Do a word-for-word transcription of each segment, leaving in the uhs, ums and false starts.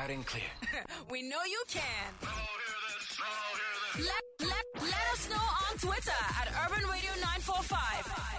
Loud and clear. We know you can. Let, let, let us know on Twitter at Urban Radio nine four five.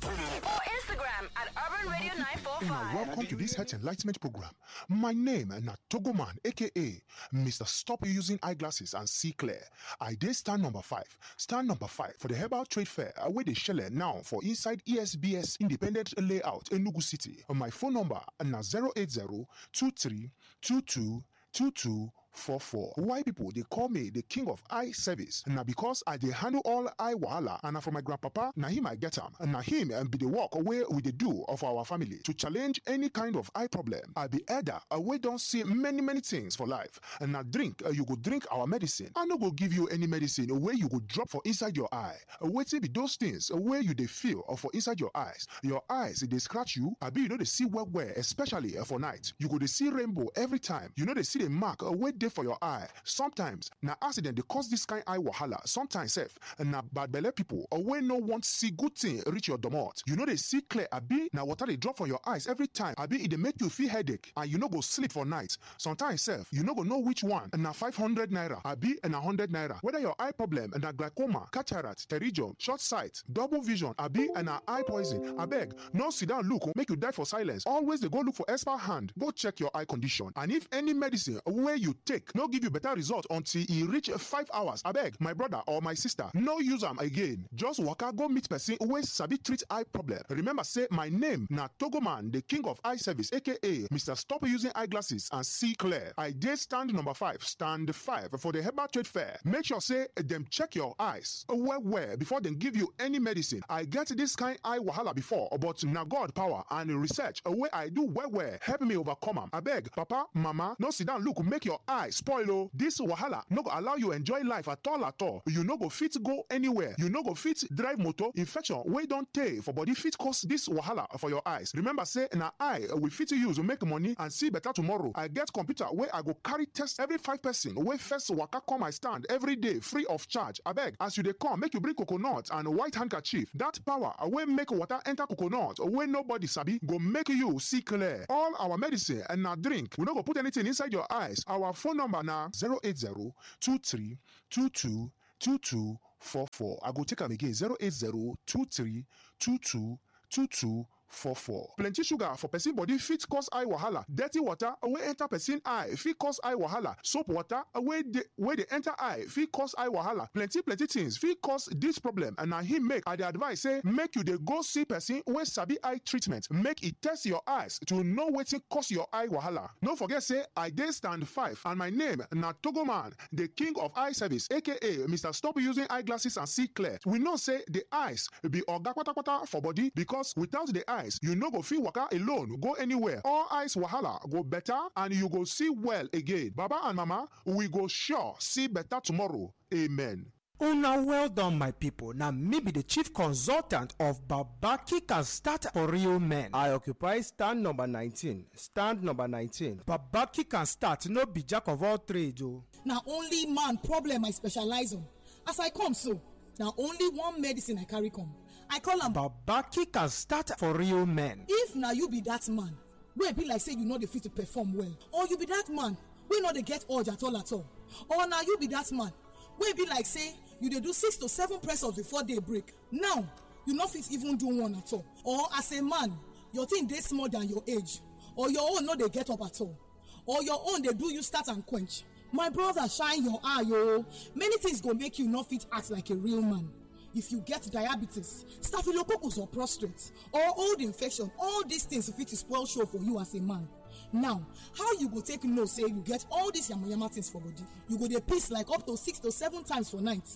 Or Instagram at Urban Radio nine four five. Welcome to this health enlightenment program. My name na Togoman, A K A Mister Stop Using Eyeglasses and See Clear. I dey stand number five. Stand number five for the Herbal Trade Fair, uh, wey dey shele now for inside E S B S Independent Layout, Enugu City. My phone number na zero eight zero two three two two two two four four. Why people dey call me the king of eye service? Na because I dey handle all eye wahala, and na from my grandpapa, na him I get am. Na him, um, be the work wey we dey do of our family to challenge any kind of eye problem. I be elder, uh, wey don see many, many things for life. And na drink, uh, you go drink our medicine. I no go give you any medicine wey you go drop for inside your eye. Uh, wetin be those things, uh, wey you dey feel, uh, for inside your eyes? Your eyes dey scratch you, abi you no dey see well well, especially, uh, for night. You go dey see rainbow every time. You no dey see the mark, uh, wey dey for your eye. Sometimes na accident dey cause this kind eye wahala. Sometimes sef na bad belle people, or wey no want see good thing reach your domot. You no dey see clear, abi na water dey drop from your eyes every time, abi e dey make you feel headache and you no go sleep for night. Sometimes sef you no go know which one na five hundred naira, abi na hundred naira. Whether your eye problem na glaucoma, cataract, pterygium, short sight, double vision, abi na eye poison, abeg, no sit down look make you die for silence. Always dey go look for expert hand, go check your eye condition. And if any medicine wey you take no give you better result until e reach five hours, abeg, my brother or my sister, no use am again. Just waka go meet person wey sabi treat eye problem. Remember say my name na Togoman, the king of eye service, A K A Mister Stop Using Eyeglasses and See Clear. I dey stand number five, stand five for the Herbal Trade Fair. Make sure say dem check your eyes well well before dem give you any medicine. I get this kind eye wahala before, but na God power and research wey I do well well help me overcome am. Abeg, papa, mama, no sit down look make your eye spoil o. This wahala no go allow you enjoy life at all at all. You no go fit go anywhere. You no go fit drive motor. Infection wey don tey for body fit cause this wahala for your eyes. Remember say na eye we fit use make money and see better tomorrow. I get computer wey I go carry test every five person wey first waka come my stand every day free of charge. Abeg, as you dey come, make you bring coconut and white handkerchief. That power wey make water enter coconut wey nobody sabi go make you see clear. All our medicine and na drink. We no go put anything inside your eyes. Our phone number na zero eight zero two three two two two two four four. I go take am again, zero eight zero two three two two two two four four. Plenty sugar for person body fit cause eye wahala. Dirty water wey enter person eye fit cause eye wahala. Soap water wey dey wey dey enter eye fit cause eye wahala. Plenty plenty things fit cause this problem, and na him make I dey advise say make you dey go see person wey sabi eye treatment, make e test your eyes to know wetin cause your eye wahala. No forget say I dey stand five, and my name na Togoman, the king of eye service, A K A Mister Stop Using Eyeglasses and See Clear. We know say the eyes be oga patapata for body, because without the eyes, you no go fit waka alone go anywhere. All eyes wahala go better and you go see well again. Baba and mama, we go sure see better tomorrow. Amen. Una well done, my people. Na me be the chief consultant of Baba Kick and Start for Real Men. I occupy stand number nineteen. Stand number nineteen. Baba Kick and Start no be jack of all trades o. Na only man problem I specialize on. As I come so, na only one medicine I carry come. I call am Baba Kick and Start for Real Men. If na you be that man wey be like say you no dey fit to perform well, or you be that man wey no dey get urge at all at all, or na you be that man wey be like say you dey do six to seven press ups before day break, now you no fit even do one at all, or as a man, your thing dey small than your age, or your own no dey get up at all, or your own dey do you start and quench. My brother, shine your eye o. Many things go make you no fit act like a real man. If you get diabetes, staphylococcus or prostate, or old infection, all these things fit spoil show for you as a man. Now, how you go take know say you get all these yamayama things for body? You go dey piss like up to six to seven times for night.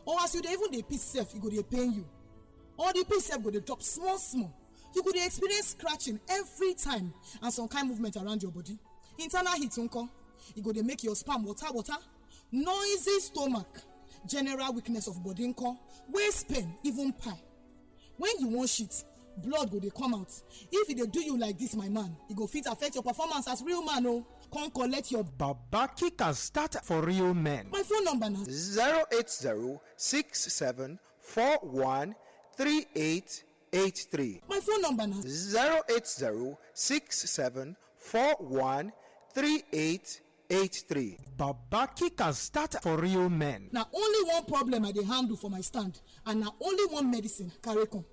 Or as you dey even dey piss sef, e go dey pain you. Or the piss sef go dey drop small small. You go dey experience scratching every time and some kind movement around your body. Internal heat nko? E go dey make your sperm water water. Noisy stomach, general weakness of body nko, waist pain, even pie. When you wan shit, blood go dey come out. If e dey do you like this, my man, e go fit affect your performance as real man o. Come collect your Baba Kick and Start for Real Men. My phone number na zero eight zero six seven four one three eight eight three. My phone number na zero eight zero six seven four one three eight eight three. Babaki can start for real men. Na only one problem I dey handle for my stand, and na only one medicine I carry come.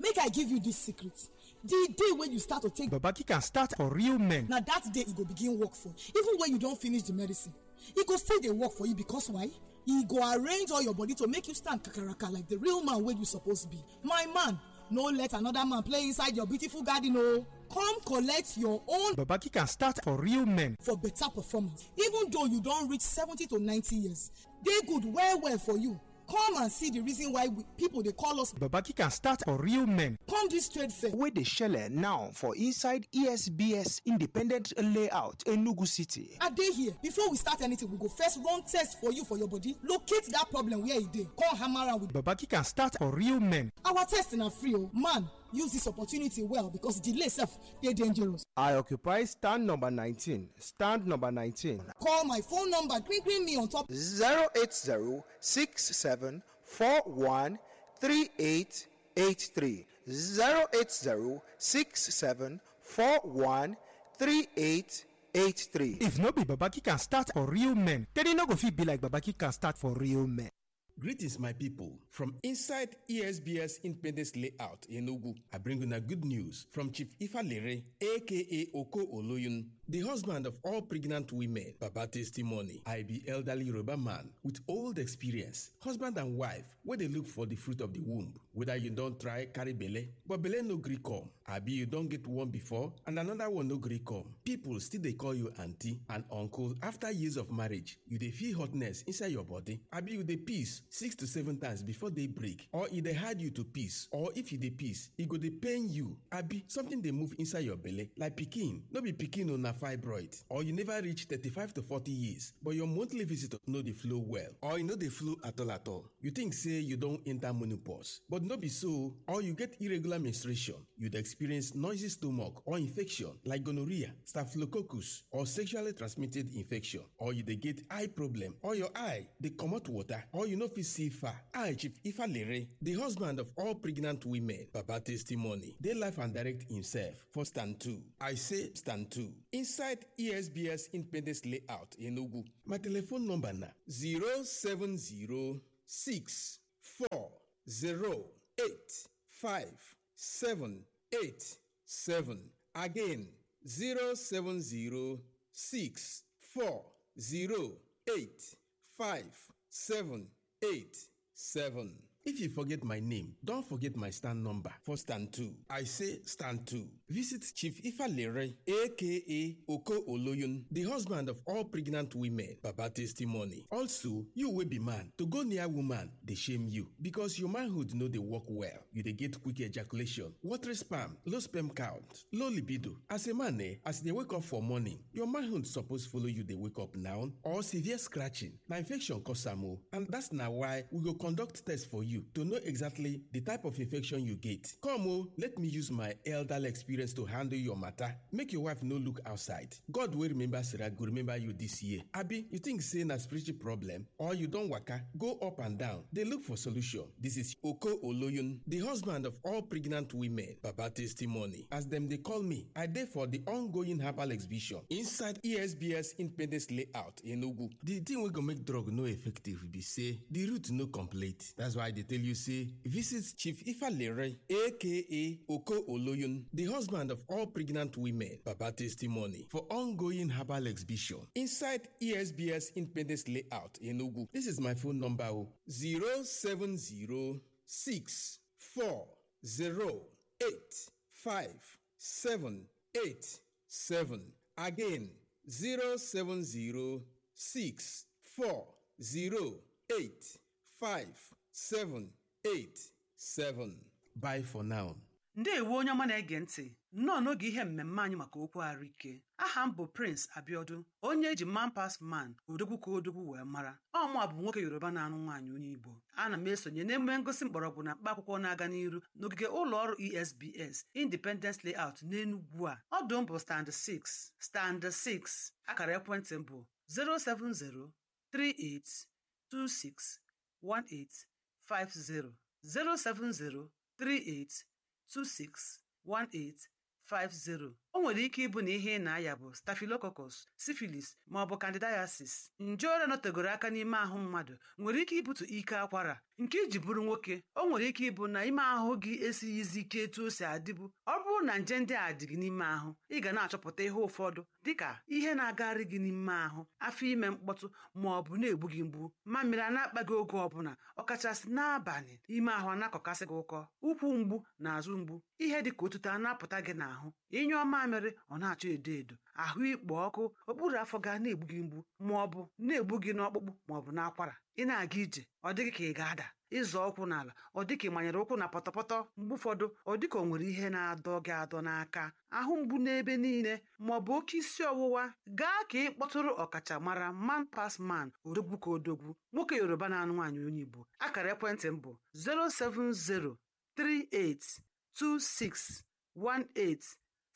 Make I give you this secret. The day wey you start to take Babaki can start for real men. Na that day e go begin work for you. Even when you don finish the medicine, e go still dey work for you, because why? E go arrange all your body to make you stand kakaraka like the real man wey you suppose be. My man, no let another man play inside your beautiful garden o. Come collect your own. Babaki can start for real men. For better performance. Even though you don reach seventy to ninety years, dey good well well for you. Come and see the reason why we, people dey call us. Babaki can start for real men. Come this trade fair wey dey shele now for inside E S B S Independent Layout, Enugu City. I dey here. Before we start anything, we go first run test for you for your body, locate that problem where e dey, come hammer am with. Babaki can start for real men. Our test na free o. Man, use this opportunity well, because delay sef dey dangerous. I occupy stand number nineteen. Stand number nineteen. Call my phone number, green green me on top. Zero eight zero six seven four one three eight eight three. Zero eight zero six seven four one three eight eight three. If no be Babaki can start for real men, then e no go fit be like Babaki can start for real men. Greetings, my people. From inside E S B S Independence Layout, Enugu, I bring una good news from Chief Ifalere, A K A Oko Oloyun, the husband of all pregnant women. Baba testimony. I be elderly Yoruba man with old experience, husband and wife, where they look for the fruit of the womb. Whether you don't try carry belle, but belle no gree come. Abi you don get one before and another one no gree come. People still dey call you auntie and uncle after years of marriage. You dey feel hotness inside your body. Abi you dey piss six to seven times before day break, or e dey hard you to piss, or if you dey piss, e go dey pain you. Abi something dey move inside your belle like pikin. No be pikin o, na fibroid. Or you never reach thirty-five to forty years, but your monthly visit no dey flow well, or e no dey flow at all at all. You think say you don enter menopause, but no be so. Or you get irregular menstruation, you dey experience noisy stomach or infection like gonorrhea, staphylococcus, or sexually transmitted infection, or you dey get eye problem, or your eye dey comot water, or you no fit see far. I, Chief Ifalere, the husband of all pregnant women, Baba testimony, dey life and direct himself for stand two. I say stand two. Inside E S B S Independence Layout, Enugu. My telephone number na zero seven zero six four zero eight five seven eight seven. Again, zero seven zero six four zero eight five seven eight seven. If you forget my name, don't forget my stand number for stand two. I say stand two. Visit Chief Ifalere, A K A Oko Oloyun, the husband of all pregnant women. Baba testimony. Also, you wey be man, to go near woman dey shame you, because your manhood no dey work well. You dey get quick ejaculation, watery sperm, low sperm count, low libido. As a man, eh, as you dey wake up for morning, your manhood suppose follow you dey wake up now, or severe scratching. Na infection cause am o, and that's na why we go conduct test for you to know exactly the type of infection you get. Come o, let me use my elderly experience to handle your matter. Make your wife no look outside. God wey remember Sarah go remember you this year. Abi, you think say na spiritual problem, or you don waka, go up and down, dey look for solution? This is Oko Oloyun, the husband of all pregnant women. Baba testimony. As dem dey call me, I dey for the ongoing herbal exhibition inside E S B S Independence Layout, Enugu. The thing wey go make drug no effective be say the root no complete. That's why I dey tell you say visit Chief Ifalere, A K A Oko Oloyun, the husband of all pregnant women. Baba testimony for ongoing herbal exhibition inside E S B S Independence Layout, Enugu. This is my phone number o, zero seven zero six four zero eight five seven eight seven. Again, zero seven zero six four zero eight five seven eight seven. Bye for now. Ndewo onye ọma na-ege ntị. Nnọọ n'oge ihe mmemme anyị maka okwu ahụike. Aha m bụ Prince Abiodun, onye eji Man Pass Man, odogwu ka odogwu wee mara. Ọ mụ a bụ nwoke Yoruba na-anụ nwaanyị onye Igbo. Ana m esonye n'emume ngosi mgbọrọgwụ na mkpa akwụkwọ na-aga n'iru n'ogige ụlọ ọrụ E S B S, Independence Layout n'Enugu a. Ọdụ m bụ stand six, stand six. Akara ekwentị m bụ zero seven zero three eight two six one eight five zero, zero seven zero three eight two six one eight five zero. O nwere ike ịbụ na ihe ị na-aya bụ staphylococcus, syphilis, ma ọ bụ candidiasis. Nje ọrịa nọtegoro aka n'ime ahụ mmadụ nwere ike ibute ike akwara. Nke iji bụrụ nwoke, o nwere ike ịbụ na ime ahụ gị esighịzi ike etu o si adịbu. Ọ bụrụ na nje ndị a dị gị n'ime ahụ, ị ga na-achọpụta ihe ụfọdụ, dịka ihe na-agagharị gị n'ime ahụ, afọ ime mkpọtụ, ma ọ bụ na-egbu gị mgbu. Mamịrị a na-akpa gị oge ọbụla, ọkachasị n'abalị, ime ahụ a na-akọkasị gị ụkọ, ụkwụ mgbu na azụ mgbu, ihe dị ka otuto a na-apụta gị n'ahụ, ịnyụọ mamịrị, ọ na-achọ edo edo, ahụ ikpo ọkụ, okpuru afọ ga na-egbu gị mgbu, ma ọ bụ na-egbu gị n'ọkpụkpụ ma ọ bụ n'akwara. Ị na-aga ije, ọ dịghị ka ị ga-ada, ịzọ ụkwụ n'ala, ọ dị ka ị manyere ụkwụ na pọtọpọtọ. Mgbe ụfọdụ, ọ dị ka o nwere ihe na-adọ gị adọ n'aka, ahụ mgbu n'ebe niile, ma ọ bụ oke isi ọwụwa. Gaa ka ị kpọtụrụ ọkachamara, man pas man, odogwu ka odogwu, nwoke Yoruba na-anụ nwaanyị onye Igbo. Akara ekwentị m bụ zero seven zero three eight two six one eight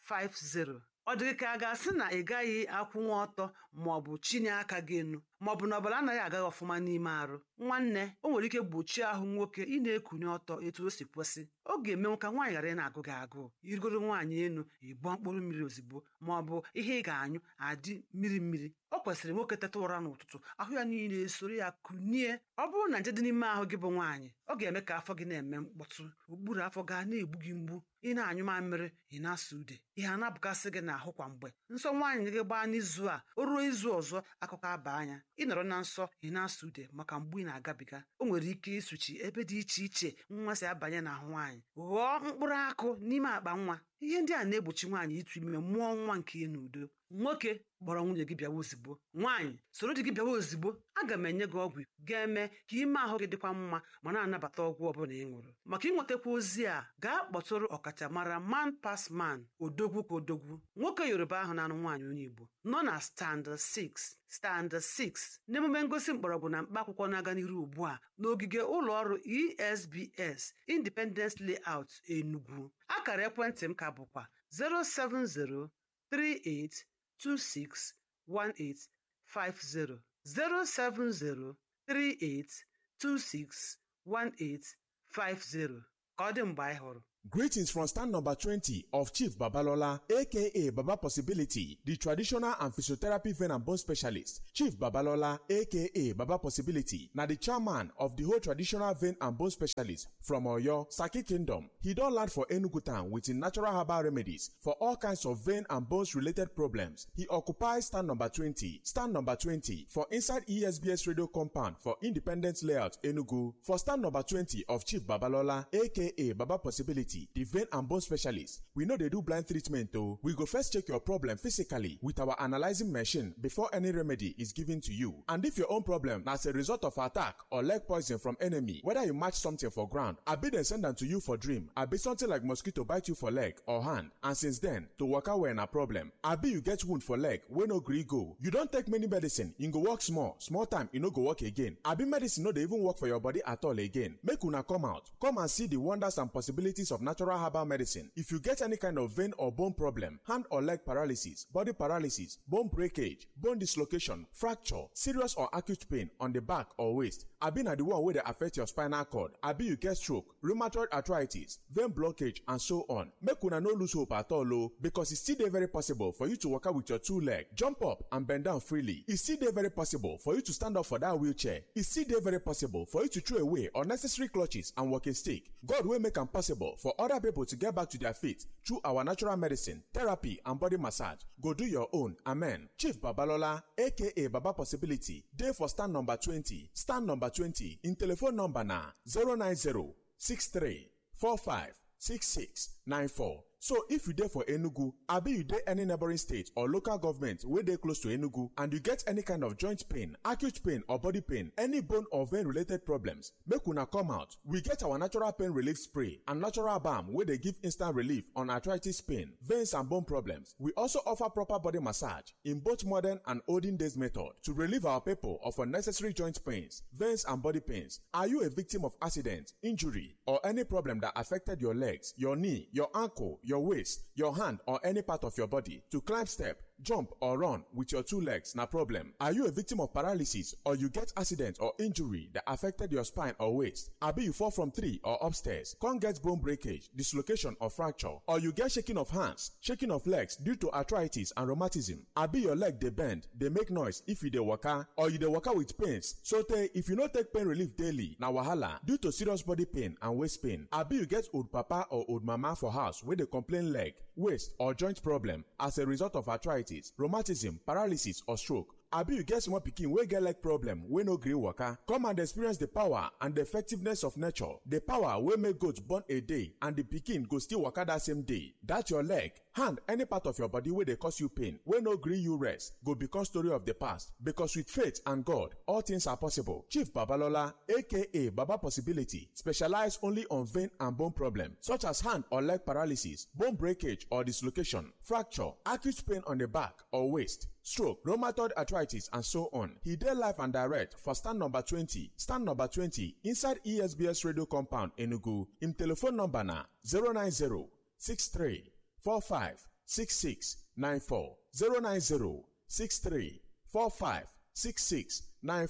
five zero. Ọ dịghị ka a ga-asị na ị gaghị akwụnwa ọtọ, ma ọ bụ chinye aka gị enu, ma ọ bụ na ọbara anaghị aga ọfụma n'ime arụ. Nwanne, o nwere ike gbochie ahụ nwoke ị na-ekunye ọtọ etu o si kwesị. Ọ ga-emenwu ka nwaanyị ghara ị na-agụ gị agụụ. Irigoro nwaanyị enu, ị gbọọ mkpụrụ mmiri ozugbo, ma ọ bụ ihe ị ga-anyụ adị mmiri mmiri. O kwesịrị nwoke teta ụra n'ụtụtụ, ahụ ya niile esoro ya kunie. Ọ bụrụ na nje dị n'ime ahụ gị bụ nwaanyị, ọ ga-eme ka afọ gị na-eme mkpọtụ, okpuru afọ ga na-egbu gị mgbu, ị na-anyụ mamịrị, ị na-asụ ude. Ihe a na-abụkasị gị n'ahụ kwa mgbe. Nsọ nwaanyị gị gbaa n'izu a, o ruo izu ọzọ, akụkọ aba anya. Ị nọrọ na nsọ, ị na-asụ ude maka mgbu ị na-agabiga. O nwere ike ịsụchi ebe dị iche iche nwa si abanye n'ahụ nwaanyị, ghọọ mkpụrụ akụ n'ime akpa nwa. Ihe ndị a na-egbochi nwaanyị ịtụ ime, mụọ nwa nke ya n'udo. Nwoke, kpọrọ nwunye gị bịawa ozugbo. Nwaanyị, soro di gị bịawa ozugbo. Aga m enye gị ọgwụ ga-eme ka ime ahụ gị dịkwa mma ma na-anabata ọgwụ ọbụla ị ṅụrụ. Maka ịnwetakwa ozi a, gaa kpọtụrụ ọkachamara, man pas man, odogwu ka odogwu, nwoke Yoruba ahụ na-anụ nwaanyị onye Igbo, nọ na stand six, stand six, n'emume ngosi mgbọrọgwụ na mkpa akwụkwọ na-aga n'iru ugbu a n'ogige ụlọ ọrụ E S B S, Independence Layout, Enugu. Akara ekwentị m ka bụkwa zero seven zero three eight two six one eight five zero, zero seven zero three eight two six one eight five zero. Ka ọ dị mgbe anyị hụrụ. Greetings from stand number twenty of Chief Babalola, A K A Baba Possibility, the traditional and physiotherapy vein and bone specialist. Chief Babalola, A K A Baba Possibility, na the chairman of the whole traditional vein and bone specialist from Oyo, Saki Kingdom. He don land for Enugu town with him natural herbal remedies for all kinds of vein and bones related problems. He occupies stand number twenty. Stand number twenty for inside E S B S radio compound for Independence Layout, Enugu. For stand number twenty of Chief Babalola, A K A Baba Possibility, the vein and bone specialist, we no dey do blind treatment o. We go first check your problem physically with our analyzing machine before any remedy is given to you. And if your own problem na as a result of attack or leg poison from enemy, whether you match something for ground, abi dem send am to you for dream, abi something like mosquito bite you for leg or hand, and since then, to waka well na problem, abi you get wound for leg wey no gree go. You don take many medicine, you go walk small, small time, e no go work again, abi medicine no dey even work for your body at all again. Make una come out, come and see the wonders and possibilities of natural herbal medicine. If you get any kind of vein or bone problem, hand or leg paralysis, body paralysis, bone breakage, bone dislocation, fracture, serious or acute pain on the back or waist, abi na the one wey dey affect your spinal cord, abi you get stroke, rheumatoid arthritis, vein blockage, and so on. Make una no lose hope at all o, because e still dey very possible for you to waka with your two leg, jump up and bend down freely. E still dey very possible for you to stand up for that wheelchair. E still dey very possible for you to throw away unnecessary clutches and walking stick. God wey make am possible for other people to get back to their feet through our natural medicine, therapy, and body massage go do your own. Amen. Chief Babalola, A K A Baba Possibility, dey for stand number twenty. Stand number twenty. In telephone number na zero nine zero six three four five six six nine four. So if you dey for Enugu, abi you dey any neighboring state or local government wey dey close to Enugu, and you get any kind of joint pain, acute pain or body pain, any bone or vein related problems, make una come out. We get our natural pain relief spray and natural balm wey dey give instant relief on arthritis pain, veins and bone problems. We also offer proper body massage in both modern and olden days method to relieve our people of unnecessary joint pains, veins and body pains. Are you a victim of accident, injury, or any problem that affected your legs, your knee, your ankle, your waist, your hand, or any part of your body? To climb step, Jump or run with your two legs na problem. Are you a victim of paralysis or you get accident or injury that affected your spine or waist? Abi you fall from tree or upstairs, come get bone breakage, dislocation or fracture, or you get shaking of hands, shaking of legs due to arthritis and rheumatism? Abi your leg dey bend, dey make noise if you dey waka, or you dey waka with pains, so tey if you no take pain relief daily, na wahala due to serious body pain and waist pain. Abi you get old papa or old mama for house wey dey complain leg, waist or joint problem as a result of arthritis, rheumatism, paralysis or stroke. Abi you get small pikin wey get leg problem wey no gree waka? Come and experience the power and the effectiveness of nature. The power wey make goat born a day and the pikin go still waka that same day. That your leg, hand, any part of your body wey dey cause you pain, wey no gree you rest, go become story of the past. Because with faith and God, all things are possible. Chief Babalola, A K A Baba Possibility, specialize only on vein and bone problem, such as hand or leg paralysis, bone breakage or dislocation, fracture, acute pain on the back or waist, stroke, rheumatoid arthritis, and so on. He dey live and direct for stand number twenty, stand number twenty inside E S B S radio compound, Enugu. Im telephone number na zero nine zero six three four five six six nine four. Zero nine zero six three four five six six nine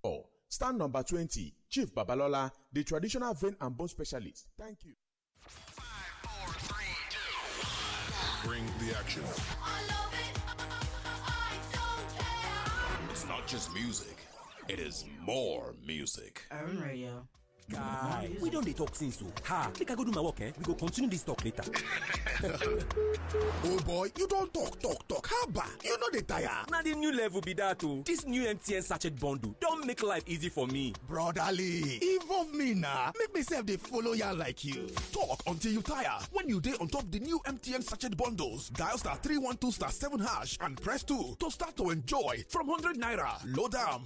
four. Stand number twenty, Chief Babalola, the traditional vein and bone specialist. Thank you. Bring the action. It's not just music, it is more music. Urban Radio. Guy, we don dey talk since o. Ha, make I go do my work, eh? We go continue this talk later. Oh boy, you don talk, talk, talk. Haba, you no dey tire. Na the new level be that o. This new M T N sachet bundle don make life easy for me. Brotherly, involve me na. Make me sef dey follow ya like you. Talk until you tire. When you dey on top the new M T N sachet bundles, dial star three one two star seven hash and press two to start to enjoy from hundred naira. Load am.